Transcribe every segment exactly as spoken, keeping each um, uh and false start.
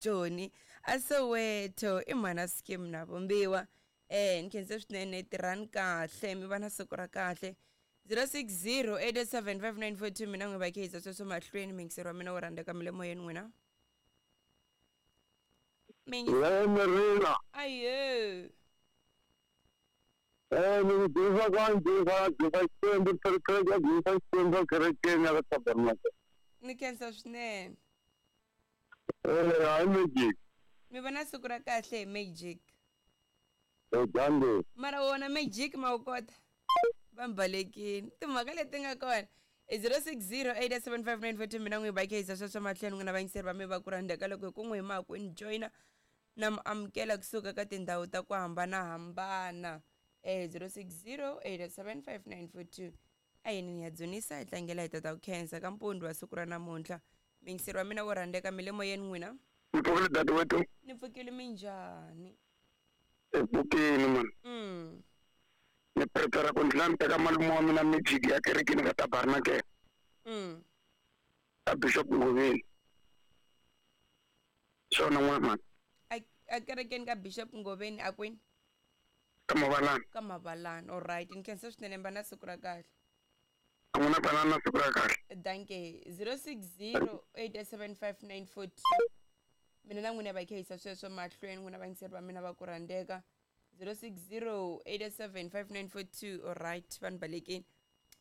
Joni a Soweto i mhana scheme na vumbiwa eh ni khense swinene tirhani kahle mi va na siku ra kahle zero six zero eight eight seven five nine four two mina n'wi va khe sweswo mahlweni miyingiseri wa mina wo rhandzeka mi le moyeni n'wina Merina. Ayo. Eh, ni dzunisa kwa dzunisa dzunisa Xikwembu kereke dzunisa Xikwembu kerekeni ya ka Tabernacle. Ni khensa swinene. Eh, hayi Magic. Mi vona siku ra kahle hi Magic. Eh, Dande. Mara wona Magic ma wu kota. Va mbalekini. Timhaka leti nga kona. I zero six zero eight seven five nine four two mina n'wi va khensa sweswo mahlweni n'wina vayingiseri va mi va ku rhandzeka loko hi ku n'wi hi ma ku ni joyina na mi amukela kusuka ka tindhawu ta ku hambanahambana eh zero six zero eight seven five nine four two a yini ni ya dzunisa hi tlangela hi tata ku khensa ka mpundzu wa siku ra namuntlha miyingiseri wa mina wo rhandzeka mi le moyeni n'wina Ni pfukile dadewethu. Ni pfukile minjhani? Hi pfukile man. Mm. Ni prepare ku ndlela ni teka malume wa mina Magic ya kerekeni ka Tabernacle. Mm. Ka Bishop Ngoveni. Swona n'wana man. A a kerekeni ka Bishop Ngoveni a kwini? Ka Mavalani. Ka Mavalani. All right. Ni khensa swinene mba na siku ra kahle. A n'wina banana na siku ra kahle. Danke. zero six zero eight seven five nine four two mina na n'wina va khehisa sweswo mahlweni n'wina vayingiseri va mina va ku rhandzeka zero six zero eight seven five nine four two all right vanhu balekeni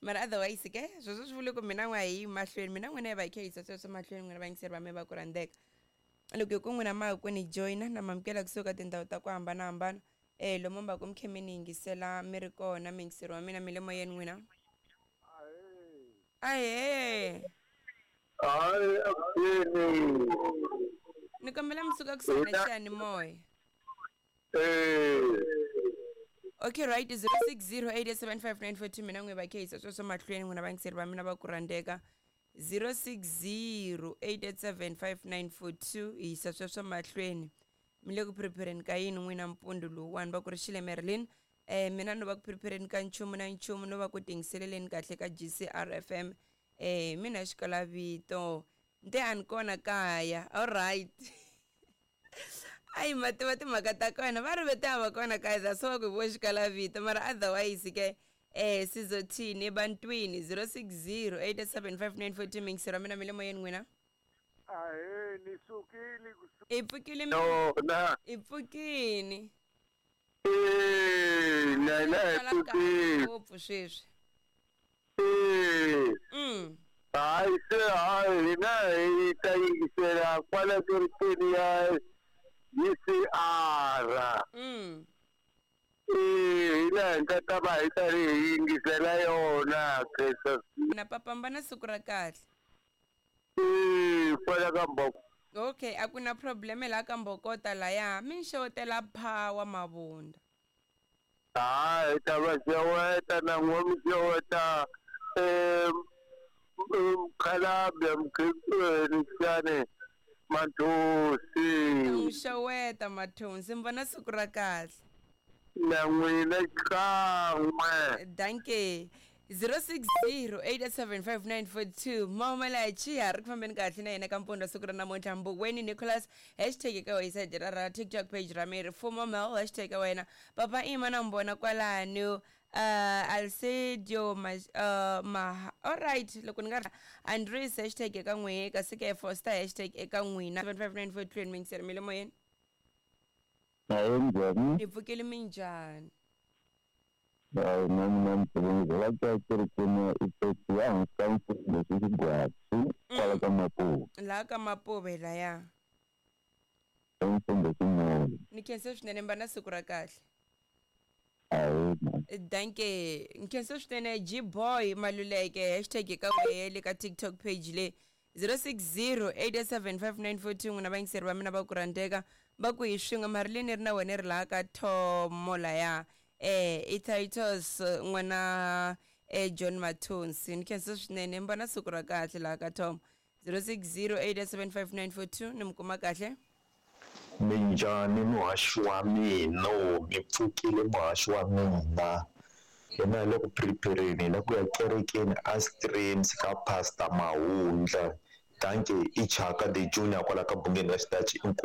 mara otherwise ke sweswo swi vule ku mina n'we a hi yi mahlweni mina n'wina hi va khehisa sweswo mahlweni n'wina vayingiseri va mina va ku rhandzeka loko hi ku n'wina ma ku ni joyina na mamukela kusuka tindhawu ta ku hambanahambana eh lomu mi va ku mi khe mi ni yingisela mi ri kona miyingiseri wa mina mi le moyeni n'wina ahee Hayi akuseni. Ni kombela mi suka kusuhi na xiyanimoya. Eh. Okay right zero six zero eight seven five nine four two mina n'wi va khehisa sweswo mahlweni n'wina vayingiseri va mina va ku rhandzeka zero six zero eight seven five nine four two hi yisa sweswo mahlweni mi le ku prepareni ka yini n'wina mpundzu lowuwani va ku ri xile Merlin eh mina no va ku prepareni ka nchumu na nchumu no va ku tingiseleleni kahle ka G C R F M eh mina xikalavito nte a ni kona kaya all right ayi ma tiva timhaka ta kona va ri vete a va kona kaya that's why ku vo xikalavito mara otherwise ke eh sizothini ebantwini zero six zero eight seven five nine four two miyingiseri wa mina mi le moyeni n'wina Ahee ni sukile i pfukile No na. i pfukini Eh, na na hi pfukile. ngopfu sweswi Eh. Mm. Hayi se hayi hina hi ta yingisela kwala kerekeni ya G C R. Mm. Eh, hina hi nga ta va hi karhi hi yingisela yona Christmas. Na papa na siku ra kahle. Eh, kwala ka Mboko. Okay, a ku na problem la ka Mbokota laya mi xewetela Power Mabunda. Hayi hi ta va xeweta na n'we mi xeweta eh mkhalabye mkhekweni Mathonsi. N'wi xeweta Mathonsi mi vona siku ra kahle. Na n'wina xikan'we. Danke. zero six zero eight seven five nine four two Mamela Chia ri ku fambeni kahle na yena ka mpundzu siku ra namuntlha Mbukweni Nicholas hashtag eka website ra ra TikTok page ra mi ri Fumo Mel hashtag ka wena Papa Ima na mbona kwalano uh Alcedio ma uh ma all right loko ni nga ri Andres hashtag eka n'we kasi ke Foster hashtag eka n'wina seven five nine four two miyingiseri mi le moyeni. Hayi njhani? Hi pfukile minjhani? Hayi na mina ni pfukile la kerekeni ya Ipeti ya hansi ka mfundhisi Xigwatsi kwala ka Mapuve. Laha ka Mapuve laya. Mfundhisi Molo. Ni khensa swinene mba na siku ra kahle. Hayi man. Danke. Ni khensa swinene G Boy Maluleke hashtag eka wele ka TikTok page le zero six zero eight seven five nine four two n'wina vayingiseri va mina va ku rhandzeka va ku hi swin'we Marilyn ri na wena ri laha ka Thomo laya eh i Titus n'wana eh John Mathonsi ni khensa swinene mi vona siku ra kahle laha ka Thomo zero six zero eight seven five nine four two ni mi kuma kahle. Minjhani muhaxi wa mina mi pfukile muhaxi wa mina hina hi le ku prepareni hi la ku ya kerekeni a streams ka Pastor Mahundla Dankie i Chaka the Junior kwala ka Bungeni wa Xitachi inkomu.